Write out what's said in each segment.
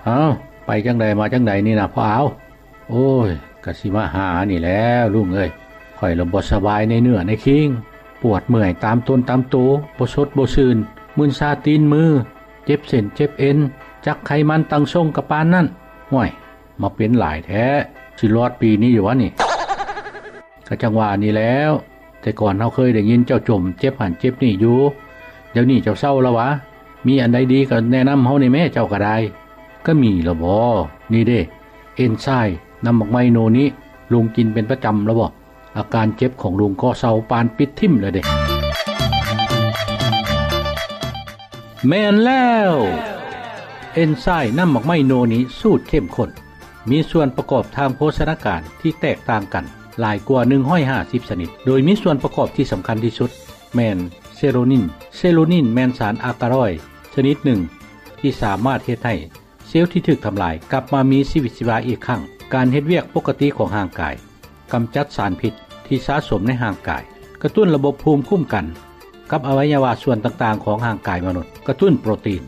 ອ້າວ ໄປຈັ່ງໃດມາຈັ່ງໃດນີ້ນະພໍ່ອາວ? ໂອ້ຍ ກະຊິມາຫານີ້ແຫຼ້ວລຸງເອີຍ, ຂ້ອຍລະບໍ່ສະບາຍໃນເນື້ອໃນຄີງ, ປວດເມື່ອຍຕາມຕົນຕາມໂຕ, ບໍ່ສົດບໍ່ຊື່ນ, ມຶນຊາຕີນມື, ເຈັບເສັ້ນເຈັບເອັນ, ຈັກໄຂມັນຕັ້ງຊົງກະປານນັ້ນ. ຫ້ວຍ ມາເປັນຫຼາຍແທ້, ຊິລອດປີນີ້ຢູ່ຫວານີ້? ກະຈັ່ງວ່ານີ້ແຫຼ້ວ, ແຕ່ກ່ອນເຮົາເຄີຍໄດ້ຍິນເຈົ້າຈົ່ມເຈັບຫັ້ນເຈັບນີ້ຢູ່, ດຽວນີ້ເຈົ້າເຊົາລະຫວາ? ມີອັນໃດດີກະແນະນຳເຮົາແດ່ແມ້ ເຈົ້າກະໄດ້. ກະມີລະບໍ? ນີ້ເດ້ ເອັນຊາຍ ນ້ຳໝາກໄມ້ໂນນິ, ລຸງກິນເປັນປະຈຳລະບໍ? ອາການເຈັບຂອງລຸງກໍເຊົາປານປິດຖິ້ມລະເດ້. ແມ່ນແລ້ວ! ເອັນຊາຍນ້ຳໝາກໄມ້ໂນນິສູດເຂັ້ມຂຸ້ນ ມີສ່ວນປະກອບທາງໂພຊະນາການທີ່ແຕກຕ່າງກັນຫຼາຍກວ່າໜຶ່ງຮ້ອຍຫ້າສິບຊະນິດ, ໂດຍມີສ່ວນປະກອບທີ່ສຳຄັນທີ່ສຸດແມ່ນເຊໂຣນິນ. ເຊໂຣນິນແມ່ນສານອາກາລອຍຊະນິດໜຶ່ງທີ່ສາມາດເຮັດໃຫ້ເຊວທີ່ຖືກທຳລາຍກັບມາມີຊີວິດຊີວາອີກຄັ້ງ, ການເຮັດວຽກປົກກະຕິຂອງຮ່າງກາຍ, ກຳຈັດສານພິດທີ່ສະສົມໃນຮ່າງກາຍ, ກະຕຸ້ນລະບົບພູມຄຸ້ມກັນກັບອະໄວຍະວະສ່ວນຕ່າງໆຂອງຮ່າງກາຍມະນຸດ, ກະຕຸ້ນໂປຣຕີນ,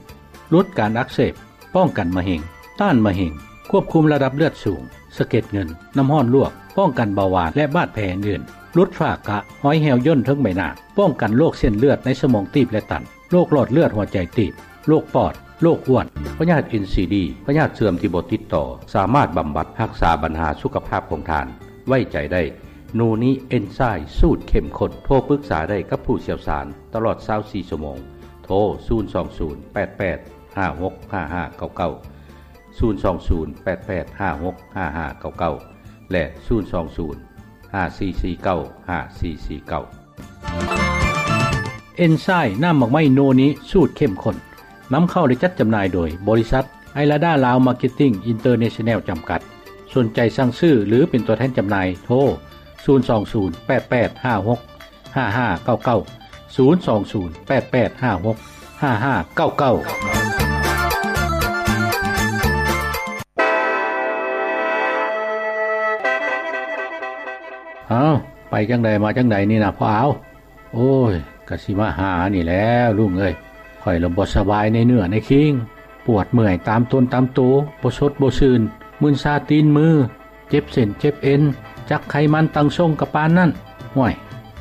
ຫຼຸດການອັກເສບ, ປ້ອງກັນມະເຮັງ, ຕ້ານມະເຮັງ, ຄວບຄຸມລະດັບເລືອດສູງ, ສະເກັດເງິນ, ນ້ຳຮ້ອນລວກ, ປ້ອງກັນເບົາຫວານ ແລະ ບາດແຜອື່ນໆ, ຫຼຸດຝ້າກະ, ຮອຍແຫ້ວຍ່ນເທິງໃບໜ້າ, ປ້ອງກັນໂລກເສັ້ນເລືອດໃນສະໝອງຕີບ ແລະ ຕັນ, ໂລກຫຼອດເລືອດຫົວໃຈຕີບ, ໂລກປອດ, ໂລກອ້ວນ, ພະຍາດເອັນຊີດີ, ພະຍາດເສື່ອມທີ່ບໍ່ຕິດຕໍ່, ສາມາດບຳບັດຮັກສາບັນຫາສຸຂະພາບຂອງທ່ານ. ໄວ້ໃຈໄດ້ ໂນນິເອັນຊາຍສູດເຂັ້ມຂຸ້ນ. ໂທປຶກສາໄດ້ກັບຜູ້ຊ່ຽວຊານຕະຫຼອດຊາວສີ່ຊົ່ວໂມງ. ໂທ ສູນສອງສູນ ແປດແປດ ຫ້າຫົກຫ້າຫ້າເກົ້າເກົ້າ, ສູນສອງສູນ ແປດແປດ ຫ້າຫົກຫ້າຫ້າເກົ້າເກົ້າ ແລະ ສູນສອງສູນ ຫ້າສີ່ສີ່ເກົ້າ ຫ້າສີ່ສີ່ເກົ້າ. ເອັນຊາຍນ້ຳໝາກໄມ້ໂນນິສູດເຂັ້ມຂຸ້ນ ນຳເຂົ້າ ແລະ ຈັດຈຳໜ່າຍໂດຍບໍລິສັດໄອລາດາລາວມາເກັດຕິ້ງອິນເຕີເນຊັນແນວຈຳກັດ. ສົນໃຈສັ່ງຊື້ ຫຼື ເປັນຕົວແທນຈຳໜ່າຍ ໂທ ສູນສອງສູນ ແປດແປດ ຫ້າຫົກ ຫ້າຫ້າເກົ້າເກົ້າ, ສູນສອງສູນ ແປດແປດ ຫ້າຫົກ ຫ້າຫ້າເກົ້າເກົ້າ. ອ້າວ ໄປຈັ່ງໃດມາຈັ່ງໃດນີ້ນະພໍ່ອາວ? ໂອ້ຍ ກະຊິມາຫານີ້ແຫຼ້ວລຸງເອີຍ, ຂ້ອຍລະບໍ່ສະບາຍໃນເນື້ອໃນຄີງ, ປວດເມື່ອຍຕາມຕົນຕາມໂຕ, ບໍ່ສົດບໍ່ຊື່ນ, ມຶນຊາຕີນມື, ເຈັບເສັ້ນເຈັບເອັນ, ຈັກໄຂມັນຕັ້ງຊົງກະປານນັ້ນ. ຫ້ວຍ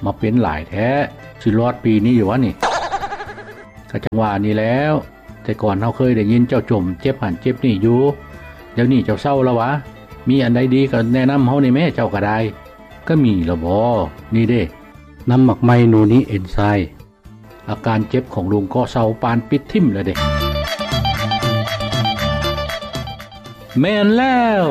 ມາເປັນຫຼາຍແທ້, ຊິລອດປີນີ້ຢູ່ຫວານີ້? ກະຈັ່ງວ່ານີ້ແຫຼ້ວ, ແຕ່ກ່ອນເຮົາເຄີຍໄດ້ຍິນເຈົ້າຈົ່ມເຈັບຫັ້ນເຈັບນີ້ຢູ່, ດຽວນີ້ເຈົ້າເຊົາລະຫວາ? ມີອັນໃດດີກະແນະນຳເຮົາແດ່ແມ້ ເຈົ້າກະໄດ້. ກະມີລະບໍ? ນີ້ເດ້ ນ້ຳໝາກໄມ້ໂນນິເອັນຊາຍ. ອາການເຈັບຂອງລຸງກໍເຊົາປານປິດຖິ້ມລະເດ້. ແມ່ນແລ້ວ!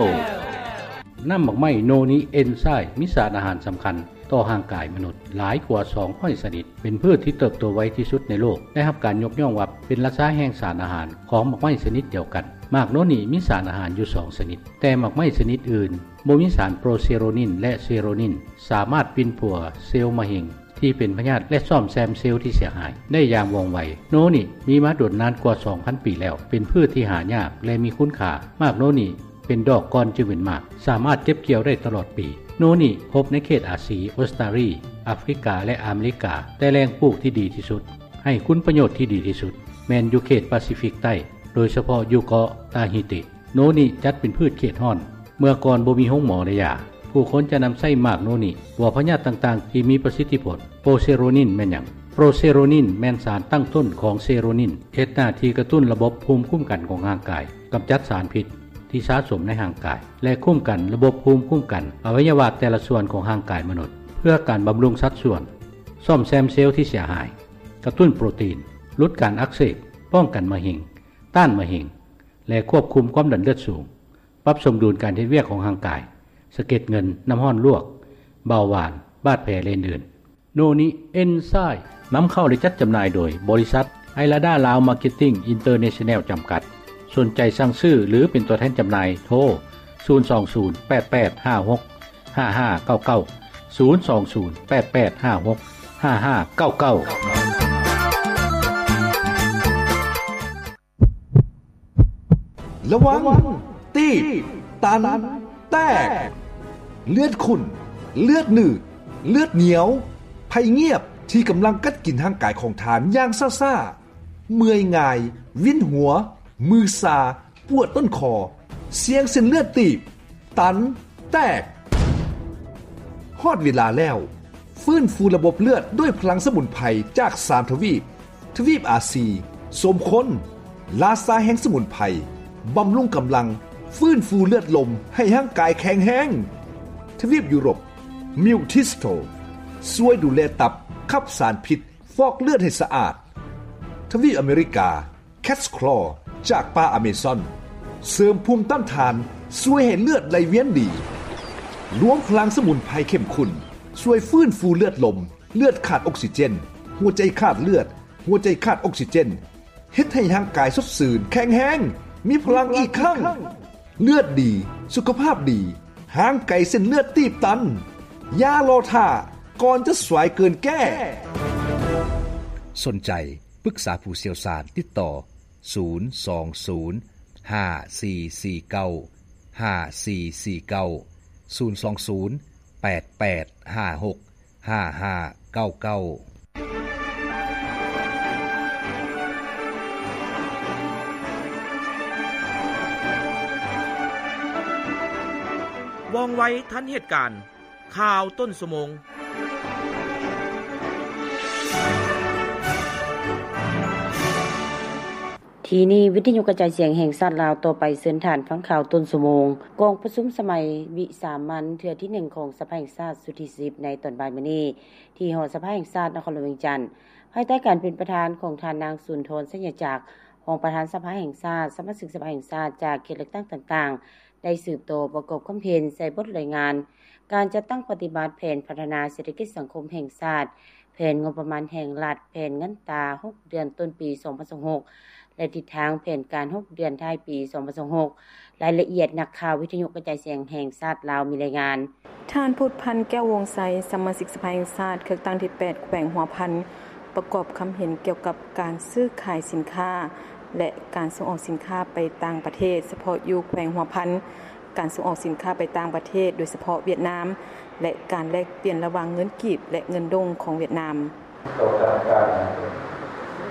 ນ້ຳໝາກໄມ້ໂນນິເອັນຊາຍ ມີສານອາຫານສຳຄັນຕໍ່ຮ່າງກາຍມະນຸດຫຼາຍກວ່າສອງຮ້ອຍຊະນິດ, ເປັນພືດທີ່ເຕີບໂຕໄວທີ່ສຸດໃນໂລກ, ໄດ້ຮັບການຍົກຍ້ອງວ່າເປັນລາຊາແຫ່ງສານອາຫານຂອງໝາກໄມ້ຊະນິດດຽວກັນ. ໝາກໂນນິມີສານອາຫານຢູ່ສອງຊະນິດ, ແຕ່ໝາກໄມ້ຊະນິດອື່ນບໍ່ມີສານໂປຣເຊໂຣນິນ ແລະ ເຊໂຣນິນ ສາມາດປິ່ນປົວເຊວມະເຮັງ ທີ່ເປັນພະຍາດ ແລະ ສ້ອມແຊມເຊວທີ່ເສຍຫາຍໄດ້ຢ່າງວ່ອງໄວ. ໂນນິມີມາດົນນານກວ່າສອງພັນປີແລ້ວ, ເປັນພືດທີ່ຫາຍາກ ແລະ ມີຄຸນຄ່າ. ໝາກໂນນິເປັນດອກກ່ອນຈຶ່ງເປັນໝາກ, ສາມາດເກັບກ່ຽວໄດ້ຕະຫຼອດປີ. ໂນນິພົບໃນເຂດອາຊີ, ອົດສະຕາລີ, ອາຟຣິກາ ແລະ ອາເມລິກາ, ແຕ່ແຫຼ່ງປູກທີ່ດີທີ່ສຸດ, ໃຫ້ຄຸນປະໂຫຍດທີ່ດີທີ່ສຸດ ແມ່ນຢູ່ເຂດປາຊີຟິກໃຕ້, ໂດຍສະເພາະຢູ່ເກາະຕາຮີຕິ. ໂນນິຈັດເປັນພືດເຂດຮ້ອນ. ເມື່ອກ່ອນບໍ່ມີໂຮງໝໍ ແລະ ຢາ, ຜູ້ຄົນຈະນຳໃຊ້ໝາກໂນນິປົວພະຍາດຕ່າງໆທີ່ມີປະສິດທິຜົນ. ໂປຣເຊໂຣນິນແມ່ນຫຍັງ? ໂປຣເຊໂຣນິນແມ່ນສານຕັ້ງຕົ້ນຂອງເຊໂຣນິນ, ເຮັດໜ້າທີ່ກະຕຸ້ນລະບົບພູມຄຸ້ມກັນຂອງຮ່າງກາຍ, ກຳຈັດສານພິດທີ່ສະສົມໃນຮ່າງກາຍ ແລະ ຄຸ້ມກັນລະບົບພູມຄຸ້ມກັນອະໄວຍະວະແຕ່ລະສ່ວນຂອງຮ່າງກາຍມະນຸດ ເພື່ອການບຳລຸງສັດສ່ວນ, ສ້ອມແຊມເຊວທີ່ເສຍຫາຍ, ກະຕຸ້ນໂປຣຕີນ, ຫຼຸດການອັກເສບ, ປ້ອງກັນມະເຮັງ, ຕ້ານມະເຮັງ ແລະ ຄວບຄຸມຄວາມດັນເລືອດສູງ, ປັບສົມດຸນການເຮັດວຽກຂອງຮ່າງກາຍ, ສະເກັດເງິນ, ນ້ຳຮ້ອນລວກ, ເບົາຫວານ, ບາດແຜ ແລະ ອື່ນໆ. ໂນນິເອັນຊາຍ ນຳເຂົ້າ ແລະ ຈັດຈຳໜ່າຍໂດຍບໍລິສັດໄອລາດາລາວມາເກັດຕິ້ງອິນເຕີເນຊັນແນວຈຳກັດ. ສົນໃຈສັ່ງຊື້ ຫຼື ເປັນຕົວແທນຈຳໜ່າຍ ໂທ ສູນສອງສູນ ແປດແປດ ຫ້າຫົກ ຫ້າຫ້າເກົ້າເກົ້າ, ສູນສອງສູນ ແປດແປດ ຫ້າຫົກ ຫ້າຫ້າເກົ້າເກົ້າ. ລະວັງ ຕີບ ຕັນ ແຕກ ເລືອດຂຸ້ນ ເລືອດໜືດ ເລືອດໜຽວ ໄພງຽບທີ່ກຳລັງກັດກິນຮ່າງກາຍຂອງທ່ານຢ່າງຊ້າໆ, ເມື່ອຍງ່າຍ, ວິນຫົວ, ມືຊາ, ປວດຕົ້ນຄໍ, ສ່ຽງເສັ້ນເລືອດຕີບ, ຕັນ, ແຕກ. ຮອດເວລາແລ້ວ, ຟື້ນຟູລະບົບເລືອດດ້ວຍພະລັງສະໝຸນໄພຈາກສາມທະວີບ. ທະວີບອາຊີ, ສົມຄົນ, ລາຊາແຫ່ງສະໝຸນໄພ, ບຳລຸງກຳລັງ, ຟື້ນຟູເລືອດລົມໃຫ້ຮ່າງກາຍແຂງແຮງ. ທະວີບຢູໂຣບ, ມິວທິສໂຕ, ຊ່ວຍດູແລຕັບ, ຂັບສານພິດ, ຟອກເລືອດໃຫ້ສະອາດ. ທະວີບອາເມລິກາ, ແຄດສະຄລໍຈາກປ່າອາເມຊອນ, ເສີມພູມຕ້ານທານ, ຊ່ວຍໃຫ້ເລືອດໄຫຼວຽນດີ. ລວມພະລັງສະໝຸນໄພເຂັ້ມຂຸ້ນ, ຊ່ວຍຟື້ນຟູເລືອດລົມ, ເລືອດຂາດອົກຊີເຈນ, ຫົວໃຈຂາດເລືອດ, ຫົວໃຈຂາດອົກຊີເຈນ, ເຮັດໃຫ້ຮ່າງກາຍສົດຊື່ນ, ແຂງແຮງ, ມີພະລັງອີກຄັ້ງ. ເລືອດດີ, ສຸຂະພາບດີ, ຫ່າງໄກເສັ້ນເລືອດຕີບຕັນ. ຢ່າລໍຖ້າ, ກ່ອນຈະສວຍເກີນແກ້. ສົນໃຈ ປຶກສາຜູ້ຊ່ຽວຊານ, ຕິດຕໍ່ ສູນສອງສູນ ຫ້າສີ່ສີ່ເກົ້າ ຫ້າສີ່ສີ່ເກົ້າ, ສູນສອງສູນ ແປດແປດຫ້າຫົກ ຫ້າຫ້າເກົ້າເກົ້າ. ວ່ອງໄວທັນເຫດການ, ຂ່າວຕົ້ນຊົ່ວໂມງ. ທີ່ນີ້ ວິທະຍຸກະຈາຍສຽງແຫ່ງຊາດລາວ. ຕໍ່ໄປເຊີນທ່ານຟັງຂ່າວຕົ້ນຊົ່ວໂມງ. ກອງປະຊຸມສະໄໝວິສາມັນເທື່ອທີໜຶ່ງຂອງສະພາແຫ່ງຊາດຊຸດທີສິບ ໃນຕອນບ່າຍມື້ນີ້ ທີ່ຫໍສະພາແຫ່ງຊາດນະຄອນຫຼວງວຽງຈັນ, ພາຍໃຕ້ການເປັນປະທານຂອງທ່ານນາງ ສຸນທອນ ໄຊຍະຈັກ, ຮອງປະທານສະພາແຫ່ງຊາດ, ສະມາຊິກສະພາແຫ່ງຊາດຈາກເຂດເລືອກຕັ້ງຕ່າງໆ ໄດ້ສືບຕໍ່ປະກອບຄຳເຫັນໃສ່ບົດລາຍງານການຈັດຕັ້ງປະຕິບັດແຜນພັດທະນາເສດຖະກິດສັງຄົມແຫ່ງຊາດ, ແຜນງົບປະມານແຫ່ງລັດ, ແຜນເງິນຕາຫົກເດືອນຕົ້ນປີສອງພັນຊາວຫົກ ແລະ ທິດທາງແຜນການຫົກເດືອນທ້າຍປີສອງພັນຊາວຫົກ. ລາຍລະອຽດ, ນັກຂ່າວວິທະຍຸກະຈາຍສຽງແຫ່ງຊາດລາວມີລາຍງານ. ທ່ານ ພູດພັນ ແກ້ວວົງໄຊ, ສະມາຊິກສະພາແຫ່ງຊາດ ເຂດເລືອກຕັ້ງທີແປດ ແຂວງຫົວພັນ, ປະກອບຄຳເຫັນກ່ຽວກັບການຊື້ຂາຍສິນຄ້າ ແລະ ການສົ່ງອອກສິນຄ້າໄປຕ່າງປະເທດ, ສະເພາະຢູ່ແຂວງຫົວພັນ, ການສົ່ງອອກສິນຄ້າໄປຕ່າງປະເທດ, ໂດຍສະເພາະຫວຽດນາມ, ແລະ ການແລກປ່ຽນລະຫວ່າງເງິນກີບ ແລະ ເງິນດົງຂອງຫວຽດນາມ. ຕໍ່ການ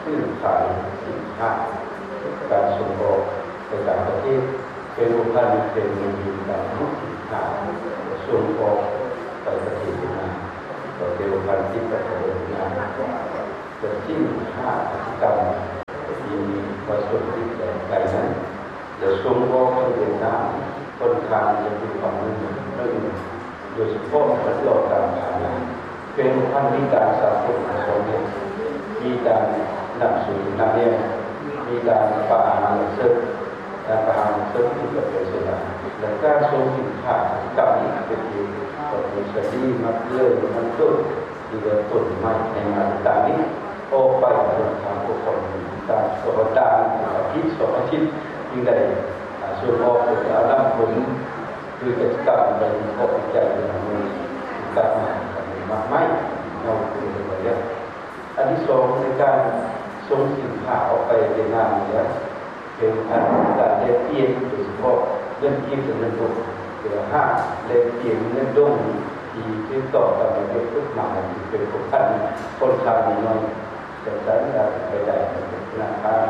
ຊື້ຂາຍສິນຄ້າ, ການສົ່ງອອກໄປຕ່າງປະເທດ, ເປັນໂອກາດທີ່ເປັນເງິນດີການລົງທຶນຂາຍ, ສົ່ງອອກໄປປະເທດຫວຽດນາມ, ກໍເປັນໂອກາດທີ່ປະເທດຫວຽດນາມ ຈະສິ້ນຄ່າກິດຈະກຳທີ່ມີປະສົບຕິດແບບໃດນັ້ນ ຈະສົ່ງອອກໄປຫວຽດນາມ ຂ້ອນຂ້າງຈະມີຄວາມໜຶ່ງໜຶ່ງ ໂດຍສະເພາະການຫຼອກການຂາຍ ເປັນພັນນິການສາກົນຂອງປະເທດ ມີການນຳສູນນຳແນວ ມີການປະຫານເສິກ ການປະຫານເສິກທີ່ປະເທດເຊນາ ແລະ ການສົ່ງສິນຄ້າກຳອີກເປັນທີ່ປະເທດສະດີ ມັກເລີຍມັນຕົ້ນ ທີ່ເປັນຕົ້ນໄມ້ໃນມາດຕານີ້ ອອກໄປທາງປົກຄອງຕ່າງ ສອງອາທິດ ສອງອາທິດ ຈຶ່ງໄດ້ ອ່າ ສົ່ງອອກ ເພື່ອຈະເອົານຳຜົນ ຄືກິດຈະກຳໄປວິເຄາະວິໄຈຢູ່ນຳມື ກັບມາມາກໄມ້ເນາະ ຄືໄດ້ແລ້ວ. ອັນທີສອງ ໃນການສົ່ງສິນຄ້າອອກໄປຫວຽດນາມນີ້ແຫຼະ ເປັນອັນການແລກປ່ຽນ ໂດຍສະເພາະເງິນກີບ ແລະ ເງິນດົງ ເພື່ອຫາແລກປ່ຽນເງິນດົງທີ່ຖືກຕ້ອງຕາມລະບຽບກົດໝາຍ ເປັນຄົນ ຂ້ອນຂ້າງໜ້ອຍ ຈະໃຊ້ໄດ້ໄປໄດ້ທະນາຄານ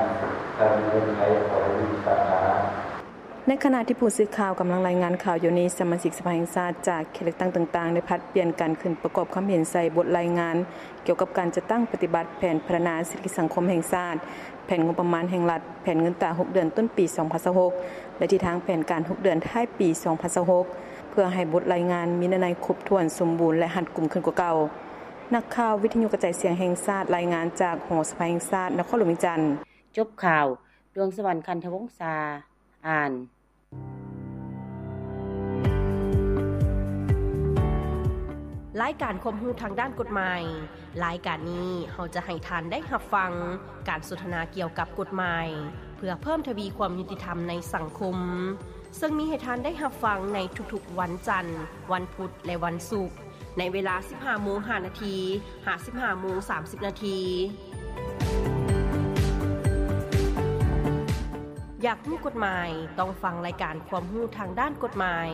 ທາງເງິນໄທ ຂອງສາຂາ. ໃນຂະນະທີ່ຜູ້ສື່ຂ່າວກຳລັງລາຍງານຂ່າວຢູ່ນີ້, ສະມາຊິກສະພາແຫ່ງຊາດຈາກເຂດເລືອກຕັ້ງຕ່າງໆ ໄດ້ຜັດປ່ຽນກັນຂຶ້ນປະກອບຄຳເຫັນໃສ່ບົດລາຍງານ ກ່ຽວກັບການຈັດຕັ້ງປະຕິບັດແຜນພັດທະນາເສດຖະກິດສັງຄົມແຫ່ງຊາດ, ແຜນງົບປະມານແຫ່ງລັດ, ແຜນເງິນຕາຫົກເດືອນຕົ້ນປີສອງພັນຊາວຫົກ ແລະ ທິດທາງແຜນການຫົກເດືອນທ້າຍປີສອງພັນຊາວຫົກ ເພື່ອໃຫ້ບົດລາຍງານມີເນື້ອໃນຄົບຖ້ວນ, ສົມບູນ ແລະ ຮັດກຸມຂຶ້ນກວ່າເກົ່າ. ນັກຂ່າວວິທະຍຸກະຈາຍສຽງແຫ່ງຊາດ ລາຍງານຈາກຫໍສະພາແຫ່ງຊາດ ນະຄອນຫຼວງວຽງຈັນ. ຈົບຂ່າວ, ດວງສະຫວັນ ຄັນທະວົງສາ ອ່ານ. ລາຍການຄວາມຮູ້ທາງດ້ານກົດໝາຍ. ລາຍການນີ້ເຮົາຈະໃຫ້ທ່ານໄດ້ຮັບຟັງການສົນທະນາກ່ຽວກັບກົດໝາຍ ເພື່ອເພີ່ມທະວີຄວາມຍຸຕິທຳໃນສັງຄົມ, ເຊິ່ງມີໃຫ້ທ່ານໄດ້ຮັບຟັງໃນທຸກໆວັນຈັນ, ວັນພຸດ ແລະ ວັນສຸກ. ໃນເວລາສິບຫ້າໂມງຫ້ານາທີ ຫາ ສິບຫ້າໂມງສາມສິບນາທີ. ຢາກຮູ້ກົດໝາຍ? ຕ້ອງຟັງລາຍການຄວາມຮູ້ທາງດ້ານກົດໝາຍ.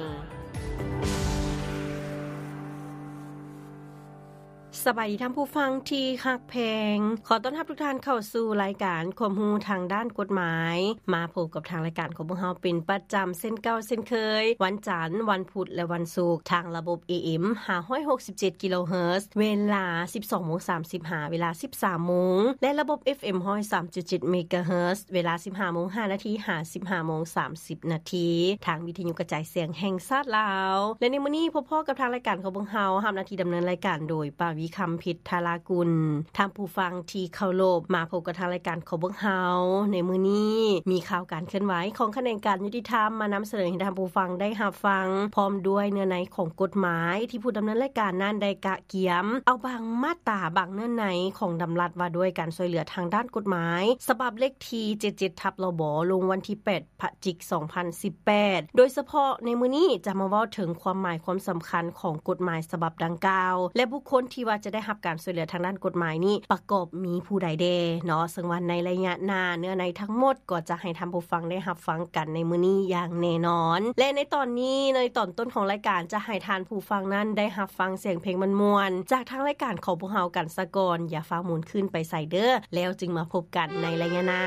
ສ ສະບາຍດີທ່ານຜູ້ຟັງທີ່ຮັກແພງ, ຂໍຕ້ອນຮັບທຸກທ່ານເຂົ້າສູ່ລາຍການຄວາມຮູ້ທາງດ້ານກົດໝາຍ. ມາພົບກັບທາງລາຍການຂອງພວກເຮົາເປັນປະຈຳເຊັ່ນເກົ່າເຊັ່ນເຄີຍ, ວັນຈັນ, ວັນພຸດ ແລະ ວັນສຸກ, ທາງລະບົບ ເອເອັມ ຫ້າຮ້ອຍຫົກສິບເຈັດກິໂລເຮີດ, ເວລາ ສິບສອງໂມງສາມສິບ ຫາເວລາ ສິບສາມໂມງ ແລະ ລະບົບ ເອັຟເອັມ ຮ້ອຍສາມຈຸດເຈັດເມກາເຮີດ, ເວລາ ສິບຫ້າໂມງຫ້ານາທີ ຫາ ສິບຫ້າໂມງສາມສິບນາທີ ທາງວິທະຍຸກະຈາຍສຽງແຫ່ງຊາດລາວ. ແລະ ໃນມື້ນີ້ພົບພໍ້ກັບທາງລາຍການຂອງພວກເຮົາ, ຮັບໜ້າທີ່ດຳເນີນລາຍການໂດຍ ປາວີ ຄຳພິດທາລາກຸນ. ທ່ານຜູ້ຟັງທີ່ເຄົາລົບ, ມາພົບກັບທາງລາຍການຂອງພວກເຮົາໃນມື້ນີ້, ມີຂ່າວການເຄື່ອນໄຫວຂອງຂະແໜງການຍຸຕິທຳມານຳສະເໜີໃຫ້ທ່ານຜູ້ຟັງໄດ້ຮັບຟັງ, ພ້ອມດ້ວຍເນື້ອໃນຂອງກົດໝາຍທີ່ຜູ້ດຳເນີນລາຍການນັ້ນໄດ້ກະກຽມເອົາບາງມາດຕາ, ບາງເນື້ອໃນຂອງດຳລັດວ່າດ້ວຍການຊ່ວຍເຫຼືອທາງດ້ານກົດໝາຍ ສະບັບເລກທີ ເຈັດເຈັດ ທັບ ລບ ລົງວັນທີ ແປດ ພະຈິກ ສອງພັນສິບແປດ ໂດຍສະເພາະໃນມື້ນີ້ຈະມາເວົ້າເຖິງຄວາມໝາຍຄວາມສຳຄັນຂອງກົດໝາຍສະບັບດັ່ງກ່າວ ແລະ ບຸກຄົນທີ່ວ່າຈະໄດ້ຮັບການຊ່ວຍເຫຼືອທາງດ້ານກົດໝາຍນີ້ປະກອບມີຜູ້ໃດແດ່ເນາະ. ເຊິ່ງວ່າໃນໄລຍະໜ້າ, ເນື້ອໃນທັງໝົດກໍຈະໃຫ້ທ່ານຜູ້ຟັງໄດ້ຮັບຟັງກັນໃນມື້ນີ້ຢ່າງແນ່ນອນ. ແລະ ໃນຕອນນີ້, ໃນຕອນຕົ້ນຂອງລາຍການ ຈະໃຫ້ທ່ານຜູ້ຟັງນັ້ນໄດ້ຮັບຟັງສຽງເພງມ່ວນໆ ຈາກທາງລາຍການຂອງພວກເຮົາກັນສາກ່ອນ. ຢ່າຟ້າວໝູນຄືນໄປໃສເດີ້, ແລ້ວຈຶ່ງມາພົບກັນໃນໄລຍະໜ້າ.